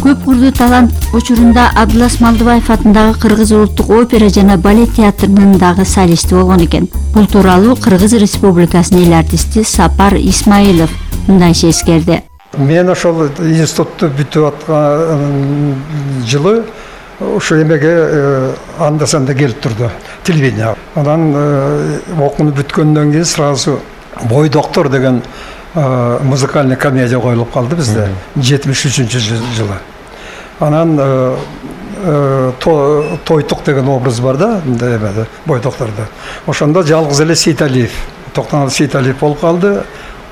Көп курдуу талант учурунда Абдылас Малдыбаев атындагы Кыргыз улуттук опера жана балет театрынын дагы солисти болгон экен. Бул тууралуу Кыргыз Республикасынын эл артисти Сапар Исмаилов мындайча эскерди. Мен ошол институтту бүтүп аткан жылы ошо эмеге анда-санда келип турду, телевидение. Анан окууну бүткөндөн кийин сразу «Бой доктор» деген музыкальный комедия коюлуп калды бизде 73-жылы. Анан Тойтук деген образ бар да, «Бой докторда». Ошондо жалгыз эле Сейталиев, Токтогул Сейталиев болуп калды.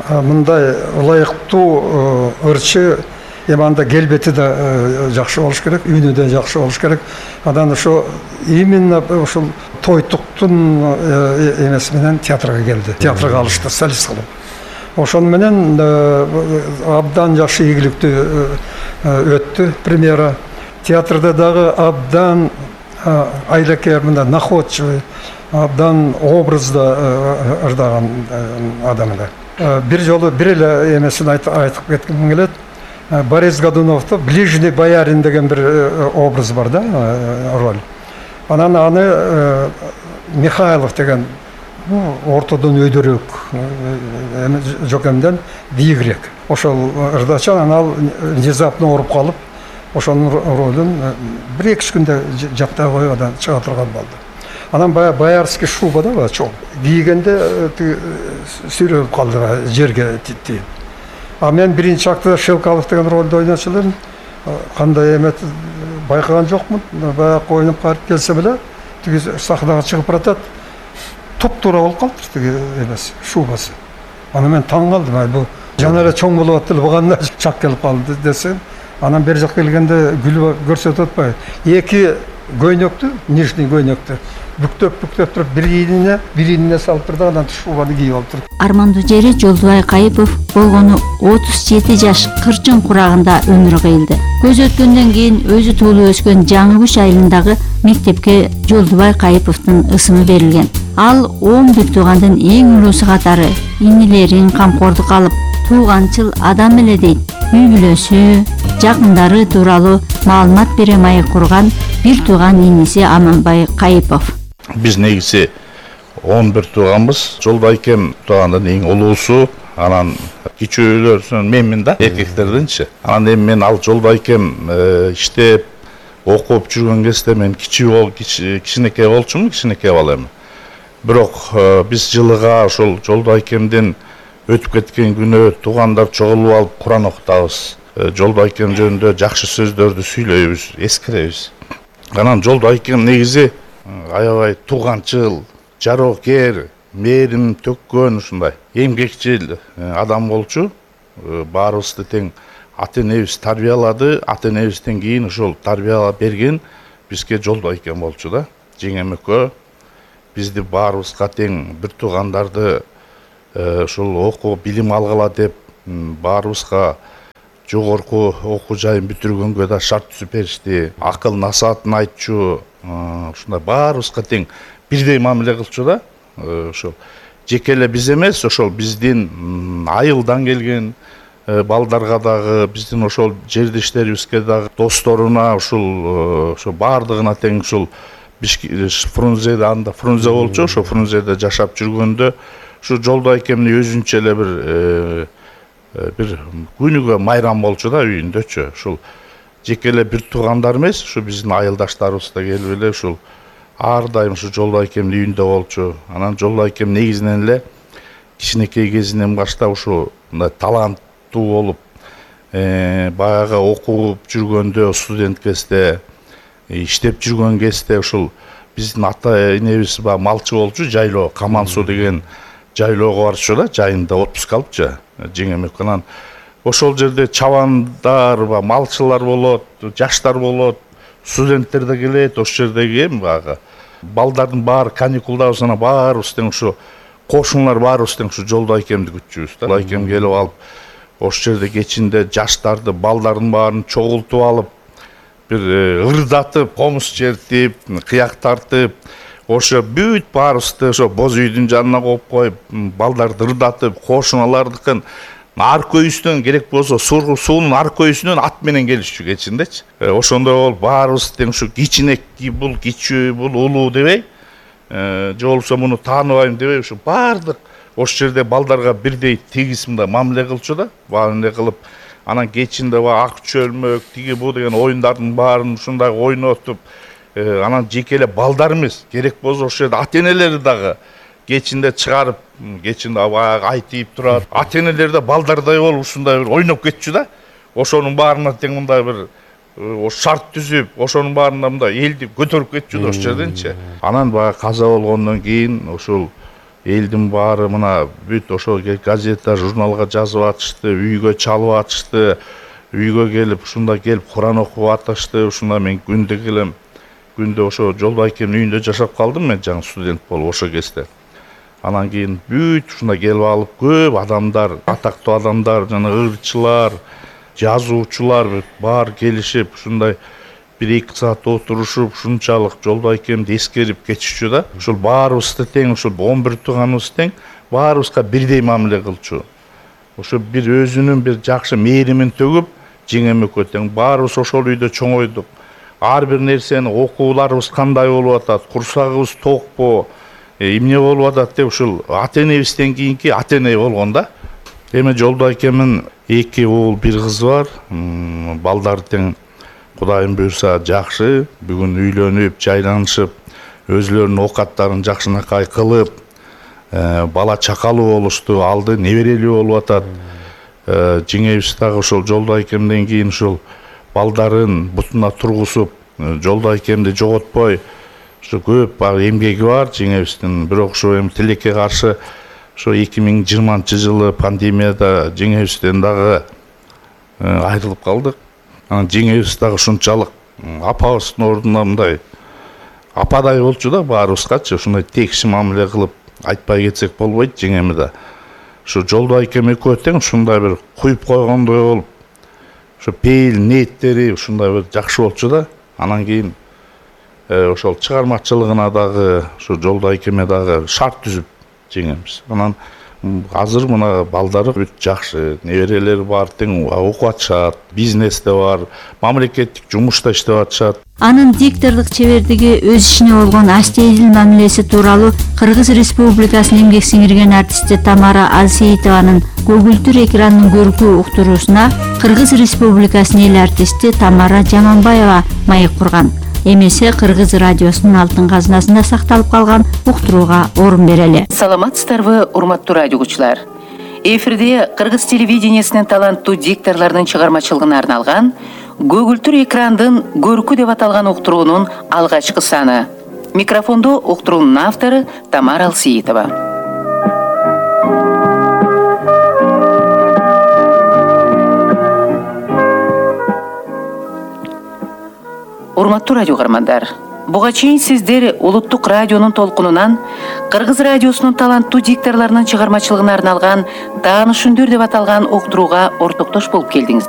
Мындай ылайыктуу ырчы, анда келбети да жакшы болуш керек, үнү да жакшы болуш керек. Анан ошо именно ошол Тойтуктун эмеси менен театрга келди. Театрга алышты солист кылып. Ошон менен абдан жакшы ийгиликтүү өттү премьера. Театрда дагы абдан айлекер, мындай находчивый, абдан образда ырдаган адам эле. Бир жолу бир эле эмесин айтып кетким келет. Борис Годуновдо «Ближний боярин» деген бир образ бар да, роль. Анан аны Михайлов деген ортодон өйдөрөөк жокемден биигирээк ошол ырдачан, анан ал внезапно ооруп калып, ошонун ролун 1-2 күндө жаттай коюп анан чыга турган болду. Анан боярский шуба да чоң кийгенде сүйрөлүп калды жерге титтип. А мен биринчи актта Шелкалов деген ролду ойночу элем. Кандай эмет байкаган жокмун. Баягы ойноп калып келсем эле тиги сахнага чыгып баратат. Туп-туура болуп калыптыр тиги эмеси, шубасы. Аны мен таң калдым. Бул жана эле чоң болуп аттыр, буга чак келип калды десем, анан бери жак келгенде күлүп көрсөтүп атпайбы? Эки көйнөктү, нижний көйнөктү бүктөп туруп бирине салып турду, анан шубаны кийип алып турду. Армандуу жери Жолдубай Кайыпов болгону 37 жаш кырчын курагында өмүр кыйлды. Көз өткөндөн кийин өзү туулуп өскөн Жаңы Күч айылындагы мектепке Жолдубай Кайыповдун ысымы берилген. Ал 11 туугандын эң улуусу катары инилерин камкордукка алып, тууганчыл адам эле дейт. Үй бүлөсү, жакындары тууралуу маалымат бере маек курган бир тууган иниси Аманбай Кайыпов. Биз негизи 11 тууганбыз. Жолдайкем туугандын эң улуусу, анан кичүүлөрүн менмин да, эркектердинчи. Анан эми мен ал Жолдайкем иштеп, окуп жүргөн кезде мен кичинекей болчумун, кичинекей бала эми. Бирок биз жылыга ошол Жолдайкемдин өтүп кеткен күнү туугандар чогулуп алып Куран окутабыз. Жолдайкем жөнүндө жакшы сөздөрдү сүйлөйбүз, эскеребиз. Анан Жолдайкем негизи аябай тууганчыл, жароокер, мээрим төккөн, ушундай эмгекчил адам болчу. Баарыбызды тең ата-энебиз тарбиялады, ата-энебизден кийин ошол тарбиялап берген бизге Жолдайкем болчу да. Жеңем экөө бизди баарыбызга тең бир туугандарды ошол окуу, билим алгыла деп баарыбызга жогорку окуу жайын бүтүргөнгө да шарт түзүп беришти. Акыл насаатын айтчу, ушундай баарыбызга тең бирдей мамиле кылчу да. Ошол жеке эле биз эмес, ошол биздин айылдан келген балдарга дагы, биздин ошол жердештерибизге дагы, досторуна, ошол баардыгына тең ушул Фрунзеде, анда Фрунзе болчу, ошо Фрунзеде жашап жүргөндө ушу Жолдайкемдин өзүнчө эле бир күнүгө майрам болчу да үйүндөчү. Ушул жеке эле бир туугандар эмес, ушу биздин айылдаштарыбыз да келип эле ушул ар дайым ушу Жолдайкемдин үйүндө болчу. Анан Жолдайкем негизинен эле кичинекей кезинен баштап ушу мындай таланттуу болуп, баягы окуп жүргөндө, студент кезде, иштеп жүргөн кезде ушул биздин ата-энебиз малчы болчу, жайлоо, Камансуу деген жайлоого барчу да, жайында отпуск алыпчы. Жеңем экөө. Ошол жерде чабандар, малчылар болот, жаштар болот, студенттер да келет. Ошол жердеги баягы балдардын баары каникулдабыз, анан баарыбыз тең ушу кошуналар баарыбыз тең ушу Жолдайкемди күтчүбүз да. Жолдайкем келип алып, ошол жерде кечинде жаштарды, балдардын баарын чогултуп алып, бир ырдатып, комуз чертип, кыяк тартып, ошо бүт баарыбызды ошо боз үйдүн жанына коюп коюп, балдарды ырдатып, кошуналардыкын ар көйүстөн керек болсо суунун ар көйүсүнөн ат менен келишчү кечиндечи. Ошондой болуп баарыбыз тең ушу кичинек бул кичүү бул улуу дебей, же болбосо муну тааныбайм дебей, ушу баардык ошол жерде балдарга бирдей тегиз мындай мамиле кылчу да, баары кылып, анан кечинде ак чөлмөк тиги бу деген оюндардын баарын ушундай ойнотуп, анан жеке эле балдар эмес, керек болсо ошол жерде ата-энелери дагы кечинде чыгарып, кечинде баягы айтып турат. Ата-энелер да балдардай болуп ушундай бир ойноп кетчү да. Ошонун баарына тең мындай бир шарт түзүп, ошонун баарына мындай элди көтөрүп кетчү да ошол жерденчи. Анан баягы каза болгондон кийин ошол элдин баары мына бүт ошол газета, журналга жазып атышты, үйгө чалып атышты, үйгө келип ушундай келип Куран окуп атышты. Ушундай мен күндө келем. Күндө ошо Жолбайкемдин үйүндө жашап калдым мен, жаңы студент болуп ошол кезде. Анан кийин бүт ушундай келип алып көп адамдар, атактуу адамдар, жана ырчылар, жазуучулар баары келишип ушундай 1-2 саат отурушуп, ушунчалык Жолбайкемди эскерип кетишчү да. Ушул баарыбызды тең, ушул 11 тууганыбыз тең, баарыбызга бирдей мамиле кылчу. Ошо бир өзүнүн бир жакшы мээримин төгүп, жеңем экөө тең баарыбыз ошол үйдө чоңойдук. Ар бир нерсени окууларыбыз кандай болуп атат, курсагыбыз токпу, эмне болуп атат деп ушул ата-энебизден кийинки ата-эне болгон да. Эми Жолбайкемдин 2 уул 1 кызы бар. Балдар тең Кудайым буйрса жакшы, бүгүн үйлөнүп, жайланышып, өзлөрүнүн оокаттарын жакшынакай кылып, бала чакалуу болушту, алды неберелүү болуп атат. Жеңебиз дагы ошол Жолбайкемден кийин ушул балдарын бутуна тургузуп, Жолбайкемди жоготпой, ушу көп эмгеги бар жеңебиздин. Бирок ушу эми тилекке каршы ошо 2020-жылы пандемияда жеңебизден дагы айрылып калдык. Анан жеңебиз дагы ушунчалык апабыздын ордуна мындай ападай болчу да баарыбызгачы, ушундай текши мамиле кылып айтпай кетсек болбойт жеңеми да. Ушу Жолбайкем экөө тең ушундай бир куюп койгондой болуп, ошо пейил ниеттери ушундай бир жакшы болчу да. Анан кийин ошол чыгармачылыгына дагы ушу Жолбайкеме дагы шарт түзүп жеңемиз. Анан азыр мына балдары бүт жакшы, неберелери бар, тең окуп атышат, бизнесте бар, мамлекеттик жумушта иштеп атышат. Анын диктордук чебердиги, өз ишине болгон астейдил мамилеси тууралуу Кыргыз Республикасынын эмгек сиңирген артисти Тамара Алсеитованын көгүлтүр экрандын көркү уктуруусуна Кыргыз Республикасынын эл артисти Тамара Жаманбаева маек курган. Эмесе Кыргыз радиосунун алтын казынасында сакталып калган уктурууга орун берели. Саламатсыздарбы, урматтуу радио угуучулар. Эфирде Кыргыз телевидениясынын таланттуу дикторлордун чыгармачылыгына арналган көгүлтүр экрандын көркү деп аталган уктуруунун алгачкы саны. Микрофондо уктуруунун автору Тамара Алсеитова. Урматтуу радио каармандар, буга чейин сиздер улуттук радионун толкунунан Кыргыз радиосунун таланттуу дикторлорунун чыгармачылыгына арналган Таанышүндөр деп аталган уктурууга ортоктош болуп келдиңиздер.